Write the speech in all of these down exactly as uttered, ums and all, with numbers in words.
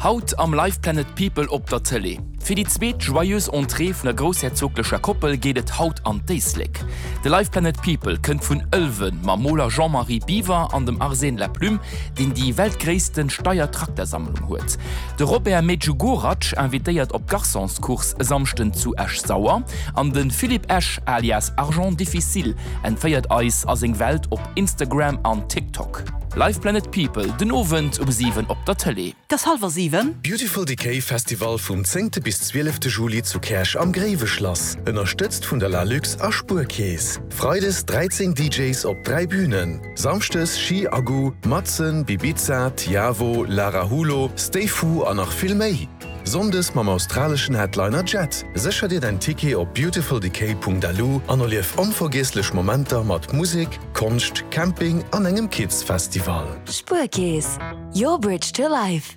Haut am Live Planet People op der Tëlee. Fir déi zweet Joyeuse Entrée vun der groussherzoglecher Koppel geet et haut an d'Éislek. De Live Planet People kënnt vun Ëlwen mam Moler Jean-Marie Biwer an dem Arsène Laplume, deen déi weltgréisste Steyr-Traktersammlung huet. De Robert Medugorac invitéiert op d'Garçonscourse e Samschden zu Esch-Sauer an de Philippe Esch alias Argent Difficile entféiert eis a seng Welt op Instagram an TikTok. Live Planet People den Owend um siwen op der Tëlee. Et ass hallwer siwen. Beautiful Decay Festival vum zéngte bis zwielefte Juli zu Käerch am Gréiweschlass, ënnerstëtzt vun der Lalux a Spuerkeess. Freides dräizéng D Js op dräi Bünen, Samschdes Ski Aggu, Matzen, Bibiza, Tiavo, Lara Hulo, Stay Fu an nach vill méi. Sonndes mam australeschen Headliner Jet. Sécher dir däin Ticket op beautifuldecay Punkt L U an erlief onvergiesslech Momenter mat Musek, Konscht, Camping an engem Kids Festival. Spuerkeess, your bridge to life.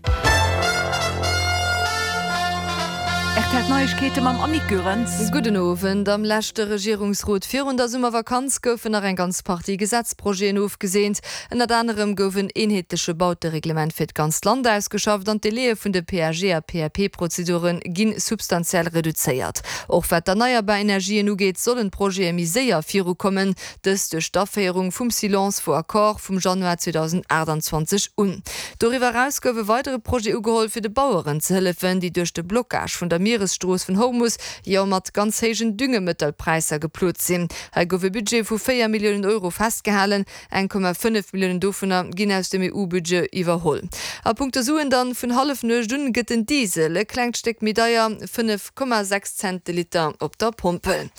R T L Neiegkeete mam Annick Goerens. Gudden Owend. Am leschte Regierungsrot virun der Summervakanz goufen nach eng ganz Partie Gesetzprojeten ofgeseent. Ënnert anerem gouf en eenheetleche Bautereglement fir d'ganzt Land ausgeschafft an d'Délaië vun de P A G a P A P-Prozedure gi substantiell reduzéiert. Och wat d'erneierbar Energien ugeet, sollen d'Projete méi séier virukommen, dëst duerch d'Aféierung vum Silence vaut accord vum Januar zweedausendaachtanzwanzeg un. Doriwwer eraus gouf e weidere Projet ugeholl fir de Baueren ze hëllefen, déi duerch de Blockage vun der Mieresstrooss vun Hormus jo mat ganz héijen Düngemëttelpräisser geplot sinn. Hei gouf e Budget vu véier Milliounen Euro festgehalen, eng Komma fënnef Milliounen dovunner ginn aus dem E U-Budget iwwerholl. A punkto Suen dann, vun Hallefnuecht un gëtt den Diesel e klengt Stéck méi deier, fënnef Komma sechs Cent de Liter op der Pompel.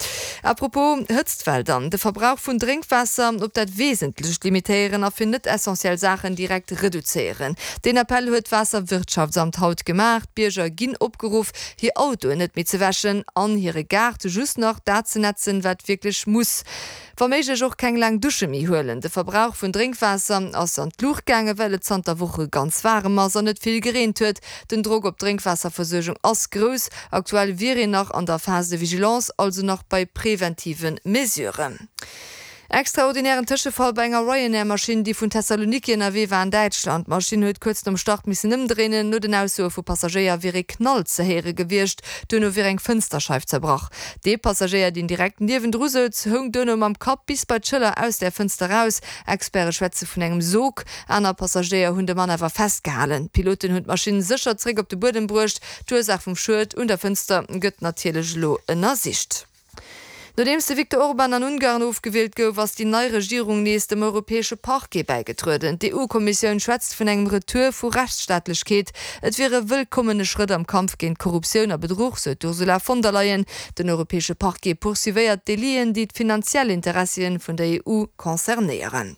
Apropos Hëtztwell dann, de Verbrauch vun Drénkwaasser op dat Wesentlecht limitéieren a fir net essentiell Saachen direkt reduzéieren. Deen Appell huet d'Waasserwirtschaftsamt haut gemaach. D'Bierger ginn opgeruff, hir Autoen net méi ze wäschen an hire Gaart just nach dat ze nätzen, wat wierklech muss. Wa méiglech och keng laang Dusche méi huelen. De Verbrauch vun Drénkwaasser ass an d'Luucht gaangen, well et zanter Woche ganz waarem ass an net vill gereent huet. Den Drock op d'Drénkwaasserversuergung ass grouss. Aktuell wier een nach an der Phase de vigilance, also nach bei preventive Mesuren. Extraordinären Tëschefall bei enger Ryanair-Maschinn, déi vun Thessaloniki ënnerwee war an Däitschland. D'Maschinn huet kuerz nom Start missen ëmdréinen. No den Aussoe vu Passagéier wier e Knall ze héiere gewiescht. Duerno wier eng Fënsterscheif zerbrach. Dee Passagéier, deen direkt niewendru souz, houng duerno mam Kapp bis bei d'Schëller aus der Fënster raus. Experte schwätze vun engem Sog. Aner Passagéier hunn de Mann awer festgehalen. D'Piloten hunn d'Maschinn sécher zeréck op de Buedem bruecht. D'Ursaach vum Schued un der Fënster gëtt natierlech elo ënnersicht. Nodeems de Viktor Orban an Ungarn ofgewielt gouf, ass déi nei Regierung nees dem europäesche Parquet bäigetrueden. D'E U-Kommissioun schwätzt vun engem Retour vu Rechtsstaatlechkeet. Et wier e wëllkommene Schrëtt am Kampf géint Korruptioun a Bedruch, sou d'Ursula von der Leyen. Den europäesche Parquet poursuivéiert Deliten, déi d'finanziell Interessien vun der E U concernéieren.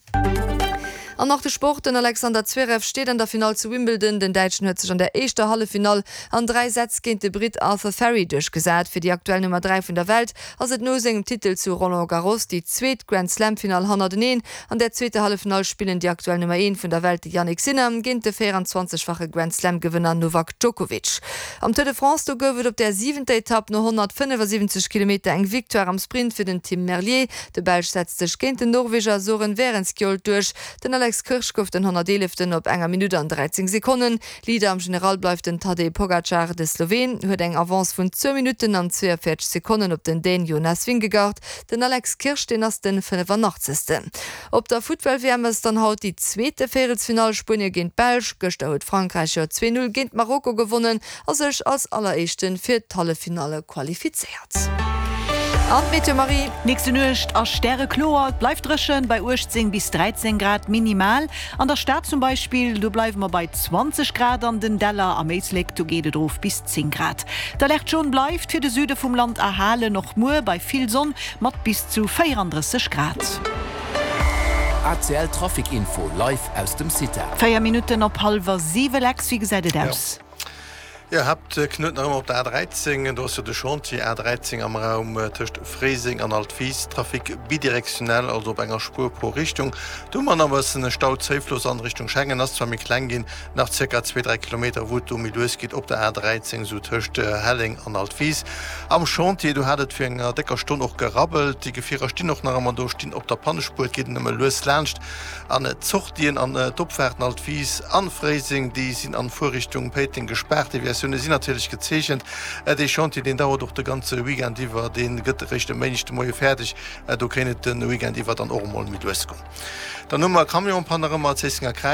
An nach de Sport, den Alexander Zverev steet an der Finall zu Wimbledon. Den Däitschen huet sech an der éischter Halleffinall an dräi Sätz géint de Britt Arthur Fery duerchgesat. Fir déi aktuell Nummer dräi vun der Welt ass et no sengem Titel zu Roland Garros déi zweet Grand Slam Finall hannerteneen. An der zweeter Halleffinall spillen déi aktuell Nummer eent vun der Welt, de Jannik Sinner, géint de véierenzwanzegfache Grand Slam Gewënner Novak Djokovic. Am Tour de France do gouf et op der siwenter Etapp no honnertfënnefasiwwenzeg Kilometer eng Victoire am Sprint fir den Tim Merlier. De Belsch setzt sech géint den Norweger Soren Wærenskjold duerch. Den Alex Kirsch gouf den honnerteeleften op enger Minutt an dräizéng Sekonnen. Leader am General bleift den Tadej Pogacar. De Sloween huet eng Avance vun zwou Minutten an zweeënvéierzeg Sekonnen op den Dän Jonas Vingegaard. Den Alex Kirsch, deen ass de fënnefanaachtzegsten. Op der Futtball-W M ass dann haut déi zweete Véierelsfinall, Spuenie géint d'Belsch. Gëschter huet Frankräich jo zwee Null géint Marokko gewonnen a sech als Alleréischte fir d'Halleffinalle qualifizéiert. An d'Meteo, Marie. Nächste Nuecht ass stärekloer, et bleift dréchen bei uechtzéng bis dräizéng Grad minimal. An der Stad zum Beispill, do bleiwe mer bei zwanzeg Grad, an den Däller am Éislek, do geet et erof bis zéng Grad. D'Alerte jaune bleift fir de Süde vum Land erhalen, och muer bei vill Sonn mat bis zu véierandrësseg Grad. A C L Trafic Info live aus dem CITA. Véier Minutten op hallwer siwe. Lex, wéi gesäit et aus? Jo, Haaptknuet nach ëmmer op der A dräizéng, do ass jo de Chantier A dräizéng am Raum tëscht Fréiseng an Altwis, Trafic bidirektionell, also op enger Spuer pro Richtung. Do hu mer nach e bëssen Stau. Zéifloss an Richtung Schengen ass zwar méi kleng ginn, nach zirka zwee, dräi Kilometer, wou et do méi lues geet op der A dräizéng, esou tëscht Helleng an Altwis. Am Chantier, do hat et fir enger décker Stonn och gerabbelt. Déi Gefierer stinn och nach ëmmer do, stinn op der Pannespuer, et geet nëmme lues laanscht. An d'Sortien an d'Opfaarten Altwis an Fréiseng, déi sinn an Fuerrichtung Péiteng gespaart. Deviatioune sinn natierlech gezeechent. Dee Chantier, deen dauert och de ganze Weekend iwwer, dee gëtt eréischt e Méindeg de Moie fäerdeg. Do kéint et de Weekend iwwer dann och emol méi lues goen. Dann hu mer Camionspanne nach ëmmer, Zéissenger Kräiz.